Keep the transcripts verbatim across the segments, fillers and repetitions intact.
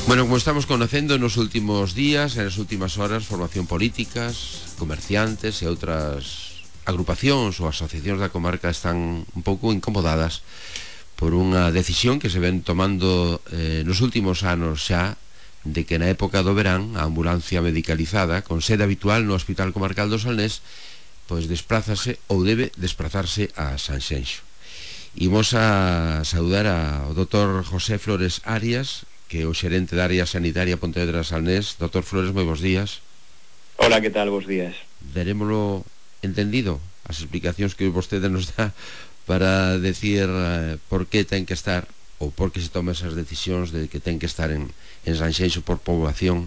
Bueno, como estamos conocendo nos últimos días, nas últimas horas, formación políticas, comerciantes e outras agrupacións ou asociacións da comarca están un pouco incomodadas por unha decisión que se ven tomando eh, nos últimos anos xa, de que na época do verán a ambulancia medicalizada con sede habitual no Hospital Comarcal do Salnés pois desplázase ou debe desplazarse a Sanxenxo. Imos a saudar ao doutor José Flores Arias, que é o xerente da área sanitaria Pontevedra Salnés. Doutor Flores, moi bons días. Hola, que tal? Bos días. Darémolo entendido as explicacións que vostede nos dá para decir eh, por que ten que estar ou por que se toman esas decisións de que ten que estar en, en Sanxenxo por poboación,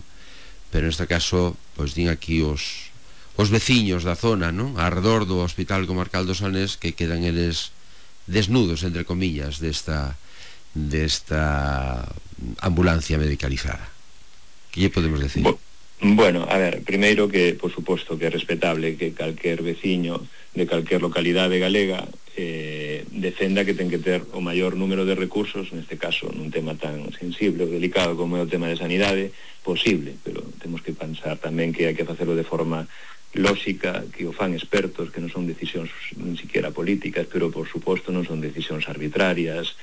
pero neste caso, pois din aquí os, os veciños da zona, non? Arredor do Hospital Comarcal do Salnés, que quedan eles desnudos, entre comillas, desta desta ambulancia medicalizada. Que lle podemos decir? Bo, bueno, a ver, primeiro que, por suposto, que é respetable que calquer veciño de calquer localidade galega eh, defenda que ten que ter o maior número de recursos, neste caso, nun tema tan sensible ou delicado como é o tema de sanidade, posible, pero temos que pensar tamén que hai que facelo de forma lógica, que o fan expertos, que non son decisións nin siquiera políticas, pero, por suposto, non son decisións arbitrarias,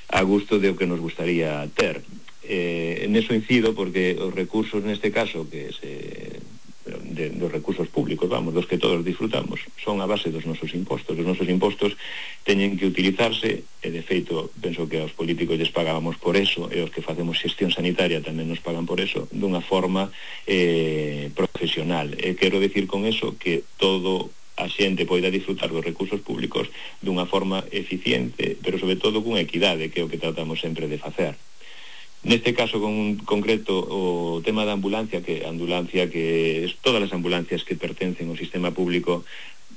a gusto de o que nos gustaría ter. Eh, en eso incido porque os recursos neste caso, que se, de, dos recursos públicos, vamos, dos que todos disfrutamos, son a base dos nosos impostos. Os nosos impostos teñen que utilizarse, e de feito, penso que aos políticos lles pagábamos por eso, e os que facemos xestión sanitaria tamén nos pagan por eso, dunha forma eh, profesional. E quero decir con eso que todo a xente poida disfrutar dos recursos públicos dunha forma eficiente, pero sobre todo cunha equidade, que é o que tratamos sempre de facer. Neste caso con concreto, o tema da ambulancia, que ambulancia que es todas as ambulancias que pertencen ao sistema público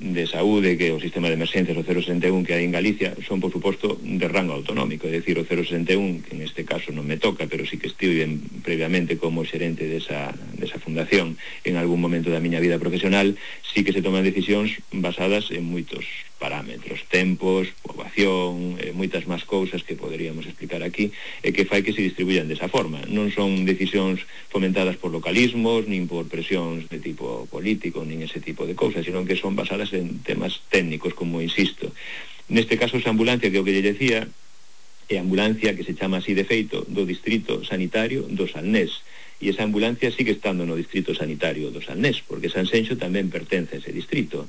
de saúde, que é o sistema de emerxencias, o cero sesenta e un que hai en Galicia, son, por suposto, de rango autonómico, é dicir, o cero sesenta e un, que en este caso non me toca, pero sí que estive previamente como xerente desa, desa fundación en algún momento da miña vida profesional, sí que se toman decisións basadas en moitos parámetros, tempos, poboación, eh, moitas máis cousas que poderíamos explicar aquí, e que fai que se distribuyan desa forma. Non son decisións fomentadas por localismos, nin por presións de tipo político, nin ese tipo de cousas, sino que son basadas en temas técnicos, como insisto. Neste caso, esa ambulancia, que é o que lle decía, é a ambulancia que se chama así de feito do Distrito Sanitario do Salnés, e esa ambulancia sigue estando no Distrito Sanitario do Salnés, porque Sanxenxo tamén pertence a ese distrito.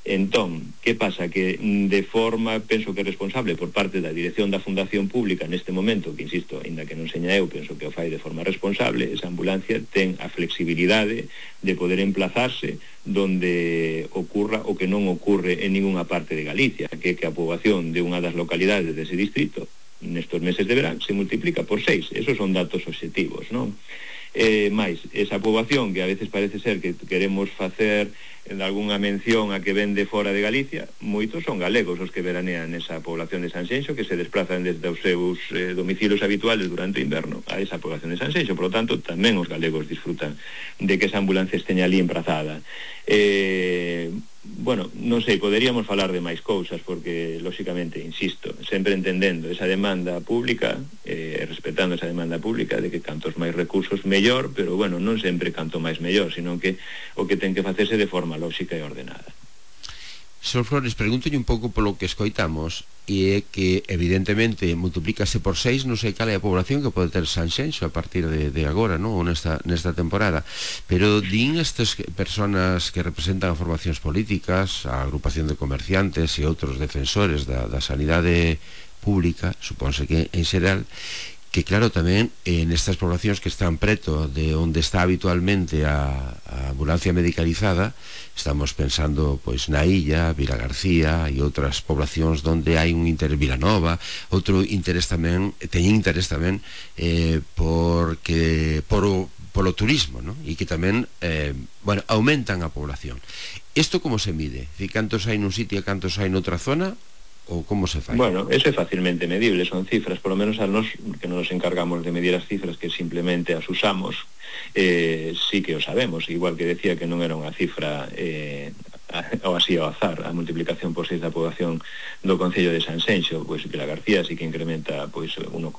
Entón, que pasa? Que de forma, penso que responsable por parte da dirección da Fundación Pública neste momento, que insisto, ainda que non seña eu, penso que o fai de forma responsable, esa ambulancia ten a flexibilidade de poder emplazarse donde ocurra o que non ocurre en ninguna parte de Galicia, que é que a poboación de unha das localidades dese distrito nestos meses de verán se multiplica por seis. Esos son datos obxectivos, non? Eh, máis, esa poboación que a veces parece ser que queremos facer en algunha mención a que ven de fora de Galicia, moitos son galegos os que veranean esa población de Sanxenxo, que se desplazan desde os seus eh, domicilios habituales durante o inverno a esa población de Sanxenxo. Por lo tanto, tamén os galegos disfrutan de que esa ambulancia esteña ali emprazada. Eh, bueno, non sei, poderíamos falar de máis cousas, porque, lóxicamente, insisto, sempre entendendo esa demanda pública, eh, respetando esa demanda pública de que cantos máis recursos mellor, pero, bueno, non sempre canto máis mellor, sino que o que ten que facerse de forma lógica e ordenada. Señor Flores, pregúntolle un pouco polo que escoitamos, e é que evidentemente multiplícase por seis, non sei cal é a población que pode ter Sanxenxo a partir de, de agora, non? Ou nesta, nesta temporada, pero din estas personas que representan a formacións políticas, a agrupación de comerciantes e outros defensores da, da sanidade pública, supónse que en xeral, que claro, tamén en estas poblacións que están preto de onde está habitualmente a, a ambulancia medicalizada, estamos pensando pois na Illa, Vila García e outras poblacións onde hai un interés, Vilanova, outro interés tamén, teñen interés tamén eh, porque por o, polo turismo, ¿no? E que tamén eh, bueno, aumentan a población. Isto como se mide? Dicir, cantos hai nun sitio e cantos hai noutra zona? Ou como se fai? Bueno, eso é facilmente medible, son cifras, por lo menos a nos que non nos encargamos de medir as cifras, que simplemente as usamos, eh, sí que o sabemos, igual que decía que non era unha cifra eh, ou así ao azar, a multiplicación por seis da poboación do Concello de Sanxenxo, pois Vila García sí que incrementa pois uno